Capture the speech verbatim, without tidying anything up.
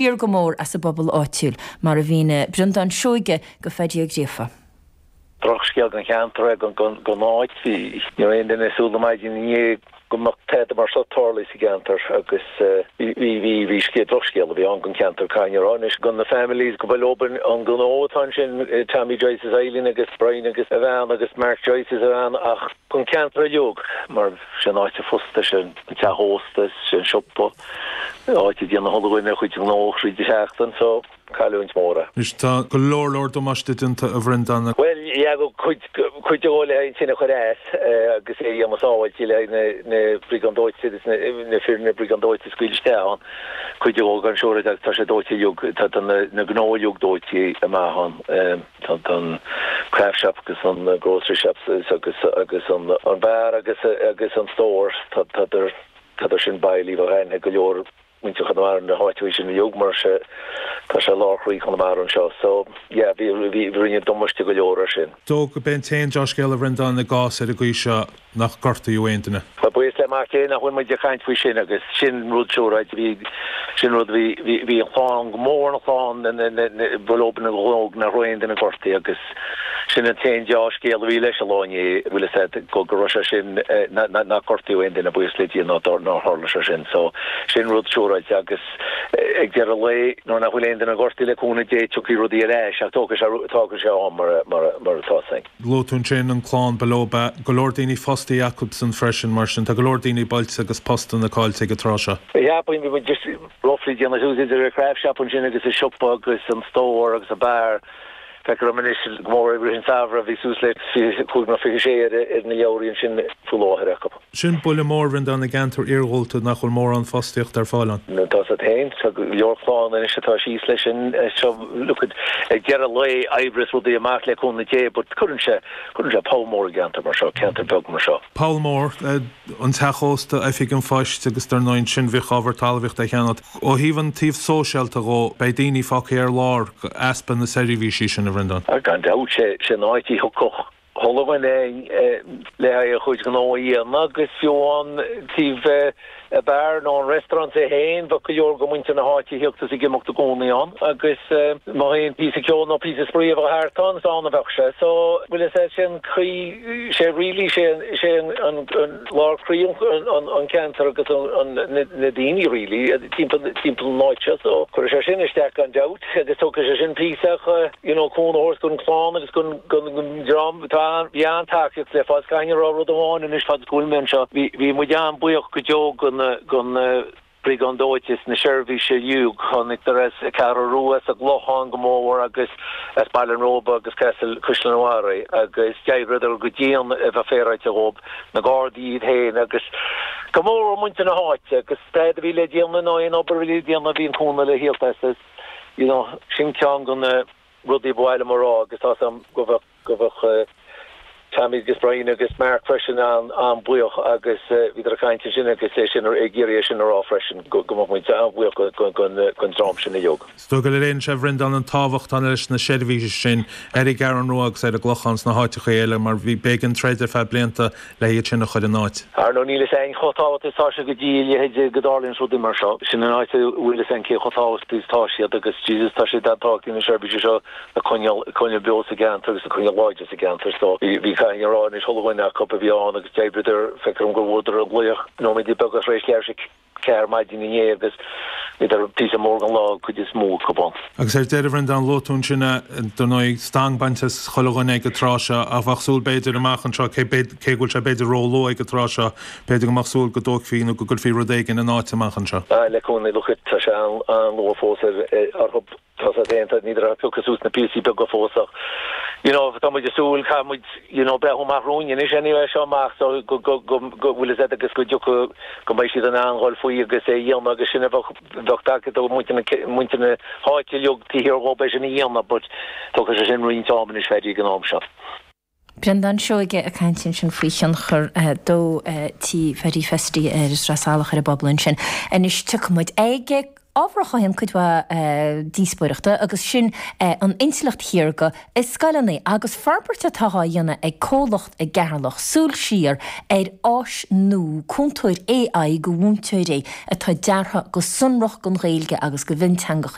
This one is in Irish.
siar go mór as an bpobal áitiúil, mar a mhínigh Breandán Seoige go Phaidí Ó Gríofa. Drochscéal don cheantar é, don áit. Ní raibh aon duine ag súil le maidin inné go mbeadh tada mar seo tarlaithe sa gceantar agus bhí bhí bhí scéal drochscéal a bhí ann don cheantar caithfidh mé a rá anois do na families go ba leo an gnó atá ansin Tommy Joyce is Eileen agus Brian agus a bhean agus Mark Joyce is a bhean ach don cheantar uilig mar sin áit a fosta sin an teach ósta sin siopa áit a dtéann chuile dhuine a chuid gnó thríd an seachtain so cailliúint mór é. Anois tá go leor leor damáiste déanta a Bhreandáin. Bhuel yeah go cuid cuid de le haghaidh an tine a chur as agus é a dhéanamh sábháilte le haghaidh na na briogáid dóite agus na na fir na briogáid dóite a scaoileadh isteach ann. Cuid de gan siúr agus tá sé dóite uilig tá tá na na gnó uilig dóite amach ann. Tá tá an craft shop agus an grocery shop agus agus an an bar agus agus an store tá tá tá sin bailí bheadh aithne go leor muintir Chonamara na háite sin uilig mar sé tá sé lár chroí Chonamara anseo so yeah bhí bhí rinne damáiste go leor ar sin. Dó go b'é an t-aon dea-scéal a Bhreandáin i gcás ar an gcaoi seo nach gortaíodh aon duine. Tá buíochas le Mac Dé nach bhfuil muid ag caint faoi sin agus sin rud siúráilte bhí sin rud bhí bhí bhí an chlann go mór an chlann ba leo an gnó nach raibh aon duine gortaithe agus sin an t-aon dea-scéal a bhí leis an lá inné bhfuil a fhios agat go go raibh sé sin nach gortaíodh aon duine buíochas le Dia ná nár tharla sé sin so sin rud siúráilte agus ag deireadh lae nuair nach bhfuil aon duine gortaithe le cúnamh Dé tiocfaidh rudaí ar ais ach tógfaidh sé tógfaidh sé am mar mar mar atá sin. Luaigh tú ansin an clann ba leo go leor daoine fostaí acusan freisin mar sin tá go leor daoine bailte agus postanna caillte ag an tráth seo. Cheapfainn bhí muid just roughly déanamh suas idir an craft shop ansin agus an siopa agus an store agus an bar. Feictear dom anois go mór i rith an tsamhraidh bhí suas le fiche cúig nó fiche sé ar ar na leabhraí ansin faoi láthair acu. Sin buille mór a Bhreandáin i gceantar iarghúlta nach bhfuil mórán fostaíocht ar fáil ann. Tá siad féin tá go leor clann anois atá síos leis sin seo look at ag deireadh lae oibreoidh rudaí amach le cúnamh Dé but cuireann sé cuireann sé poll mór i gceantar mar seo ceantar beag mar seo. Poll mór an teach ósta oifig an phoist agus dar ndóigh ansin bhíodh ábhar talmhaíochta a cheannacht. Ó thaobh an taobh sóisialta dhó beidh daoine fágtha ar lár easpa na seirbhísí sin a Bhreandáin. Gan dabht sé sé an áit a thiocfadh chuile dhuine le haghaidh a chuid gnó a dhéanamh agus fiú an taobh a beár nó an restaurant é féin bheadh go leor go muintir na háite ag tíocht is ag imeacht i gcónaí ann agus má aon píosa ceoil nó píosa spraoi a bheadh thart ann is ann a bheadh sé. So bhfuil a fhios agat sin croí sé really sé sé an an lár croí an an ceantar agus an na daoine really timpeall timpeall an áit seo so cuirfidh sé sin isteach gan dabht agus tógfaidh sé sin píosa you know cúnamh a thabhairt don chlann agus don don dream tá bhí an-tacaíocht le fáil caithfidh mé a rá rud amháin anois fad go bhfuil mé anseo bhí bhí muid an-bhuíoch go deo gon gon Briogáid Dóite is na seirbhísí uilig tháinig as an Cheathrú Rua as an gClochán go mór agus as Baile an Róba agus Castle Cuisleán an Bharraigh agus d'oibríodar go dian a bheith féaráilte dhóibh na Gardaí iad féin agus go mór muintir na háite agus tada a bhí le déanamh nó aon obair a bhí le déanamh bhí an cúnamh le thíocht as you know sin ceann de na rudaí ba mhaith liom a rá agus tá am go bheadh go bheadh Tommy agus Brian agus Mark freisin an an-bhuíoch agus bhíodar ag caint sin agus é sin ag iarraidh sin a rá freisin go go mbeadh muid an-bhuíoch don dream sin uilig. Is dóigh go léiríonn sé a Bhreandáin an tábhacht atá leis na seirbhísí sin ar an gCeathrú Rua agus ar an gClochán sna háiteacha eile mar bhí b'éigean troid ar feadh blianta le hiad sin a chur in áit. Ar ndóigh níl a fhios againn chomh tábhachtach is atá sé go dtí a leithéid go dtarlaíonn rudaí mar seo. Sin an áit a bhfuil a fhios againn cé chomh tábhachtach is atá siad agus Jesus tá siad an-tábhachtach na seirbhísí seo a choinneáil coinneáil beo sa gceantar agus a choinneáil láidir sa gceantar so bhí bhí caithfidh mé a rá anois chuile dhuine acu a bhí ann agus d'oibríodar feictear dom gur bhuadar an glaoch nóiméadaí beaga tar éis leathuair tar éis ceathair maidin inné agus bhíodar píosa mór den lá cuid is mó acu ann. Agus ar deireadh Bhreandáin luaigh tú ansin dar ndóigh stanc bainte as chuile dhuine ag an tráth seo ach bheadh súil b'fhéidir amach anseo cé cé go bhfuil sé b'fhéidir róluath ag an tráth seo b'fhéidir go mbeadh súil go dtógfaí nó go gcuirfí rud éigin in áit amach anseo. Le cúnamh look tá sé an-luath fós ar orthu tá sé déanta ní raibh piocadh suas na píosaí beaga fós ach you know tá muid ag súil caithfidh muid you know breathnú amach romhainn anois anyway seo amach so go go go go bhfuil a fhios agat agus go dtiocfaidh go mbeidh siad in ann dhul faoi agus é a dhéanamh agus sin a bheadh bheadh tacaíocht ó muintir na muintir na háite uilig taobh thiar dhóibh é sin a dhéanamh but tógfaidh sé sin roinnt am anois Phaddy ag an am seo. Breandán Seoige ag caint ansin faoi thionchar dó tí Phaddy Festy ar Sraith Salach ar an bpobal ansin. Anois tiocfaidh muid ag ábhar a chothaíonn cuid mhaith díospóireachta agus sin an intleacht shaorga i scoileanna agus forbairt atá á dhéanamh ag comhlacht i gCeatharlach, súil siar ar áis nua cúntóir AI go mhúinteoirí atá deartha go sonrach don Ghaeilge agus go mhionteangacha.